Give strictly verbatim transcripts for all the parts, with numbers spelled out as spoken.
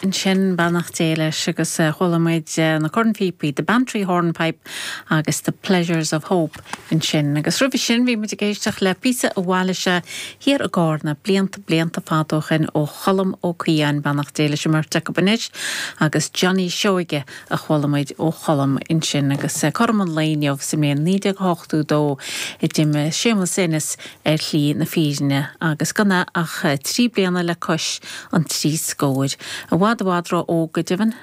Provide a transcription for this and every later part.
Ansin beannacht Dé leis agus chuala muid na cornphíopaí, The Bantry Hornpipe agus The Pleasures of Hope ansin. Agus roimhe sin bhí muid ag éisteacht le píosa a bhailigh sé thiar i gCarna blianta blianta fada ó shin ó Cholm Ó Caoidheáin beannacht Dé leis an mbeirt acu anois agus Johnny Seoige a chuala muid ó Cholm ansin agus cothrom an lae inniu sa mbliain naoi déag ochtó dó a d'imigh Séamus Ennis ar shlí na fírinne agus gan é ach trí bliana le cois an trí scóir. I bhfad i bhfad ró-óg go deimhin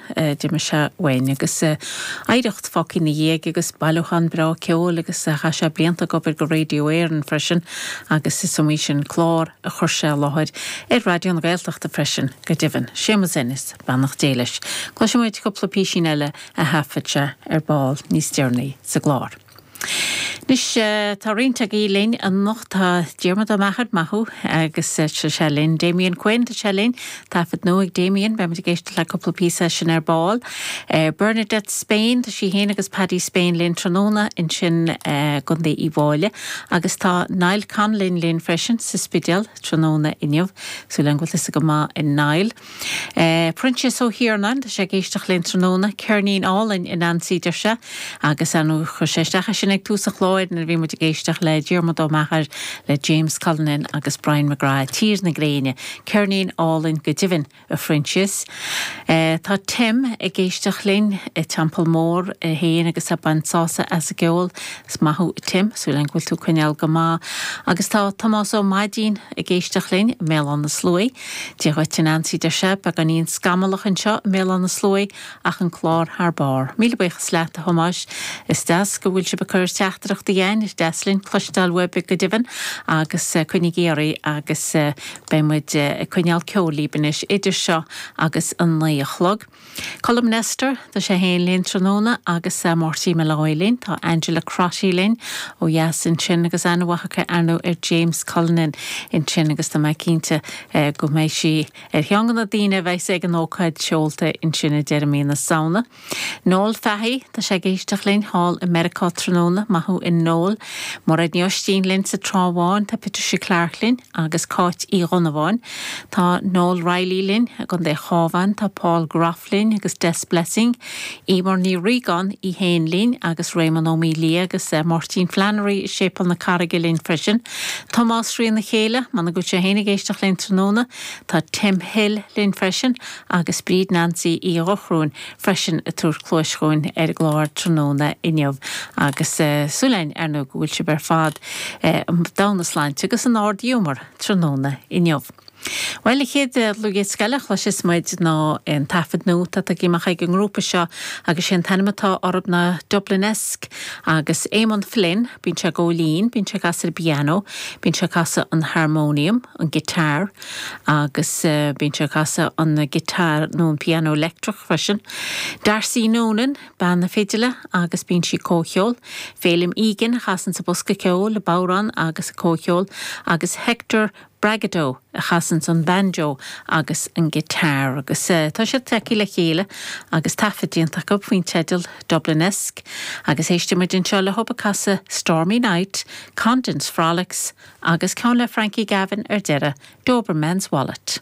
d'imigh sé uainn agus oidhreacht fágtha ina dhiaidh agus bailiúchán breá ceoil agus chaith sé blianta ag obair go Radio Éireann freisin agus is iomaí sin clár a chuir sé i láthair ar Raidió na Gaeltachta freisin go deimhin. Séamus Ennis, beannacht Dé leis. Cloisfidh muid cúpla písín eile a thaifead sé ar ball níos deireanaí sa gclár. Anois tá roinnt agaibh linn anocht tá Diarmuid Ó Meachair maith thú agus tá sé linn Damien Quinn tá sé linn taifead nua ag Damien beimid ag éisteacht le cúpla píosa sin ar ball. Bernadette Spain tá sí féin agus Paddy Spain linn tráthnóna ansin i gContae Uíbh Fhailí agus tá Niall Conlon linn freisin sa Spidéal tráthnóna inniu súil agam go bhfuil tusa go maith a Niall. Proinsias Ó hIarnáin tá sé ag éisteacht linn tráthnóna ceirnín álainn a Nancy deir sé agus an chuir sé isteach sin ag tús an chláir nuair a bhí muid ag éisteacht le Diarmuid Ó Meachair le James Cullinan agus Brian McGrath Tír na Gréine, ceirnín álainn go deimhin a Phroinsias. Tá Tim ag éisteacht linn i Teampall Mór é féin agus ag baint sásamh as an gceol is maith thú Tim, súil agam go bhfuil tú ag coinneáil go maith. Agus tá Tomás Ó Maidín ag éisteacht linn i mBéal Átha na Sluaighe. Dia dhuit a Nancy deir sé beagáinín scamallach anseo i mBéal Átha na Sluaighe ach an clár thar barr. Míle buíochas leat a Thomáis is deas go bhfuil sibh ag cur teachtaireachtaí chugainn is deas linn cloisteáil uaibh go deimhin agus coinnígí oraibh agus beidh muid ag coinneáil ceoil libh anois idir seo agus an naoi a chlog. Colm Nestor tá sé féin linn tráthnóna agus Máirtín Molloy linn, tá Angela Crotty linn ó dheas ansin agus aithne mhaith aici ar ndóigh ar James Cullinan ansin agus tá mé cinnte go mbeidh sí ar cheann de na daoine a bheidh ag an ócáid seolta ansin i deireadh mí na Samhna. Noel Fahy tá sé ag éisteacht linn thall i Meiriceá tráthnóna maith thú a Noel. Mairéad Ní Oistín linn sa Trá Bháin tá Patricia Clark linn agus Cáit Uí Dhonnabháin. Tá Noel Riley linn i gContae an Chabháin, tá Paul Groff linn agus Des Blessing, Emer Ní Riagáin í féin linn agus Raymond Ó Mília agus Máirtín Flannery i Séipéal na Carraige linn freisin. Tomás Ríona Chéile, man go sé féin ag éisteacht linn tráthnóna, tá Tim Hill linn freisin agus Bríd Nancy Uí Dhochróin freisin ag tabhairt cluais chugainn ar an gclár tráthnóna inniu agus súil againn ar ndóigh go bhfuil sibh ar fad domna sláinte agus in ard-ghiúmar tráthnóna inniu. Well an chéad dlúthdhiosca eile a chloisfeas muid ná an taifead nua atá tagtha amach ag an ngrúpa seo agus sé an t-ainm atá orthu ná Dublinesque agus Eamon Flynn, bíonn sé ag gabháil fhoinn, bíonn sé ag casadh ar an bpianó, bíonn sé ag casadh an harmonium, an guitar agus bíonn sé ag casadh an guitar nó an piano leictreach freisin. Darcy Noonan, bean na fidile agus bíonn sí ag comhcheol, Féilim Egan a chasann sa bosca ceoil, an bodhrán agus ag comhcheol agus Hector Bragado a chasann an banjo agus an guitar agus uh, tá siad tagtha le chéile agus taifead déanta acu faoin teideal Dublinesque agus éistfimid anseo leo ag casadh Stormy Night, Condon's Frolics agus ceann le Frankie Gavin ar deireadh Doberman's Wallet.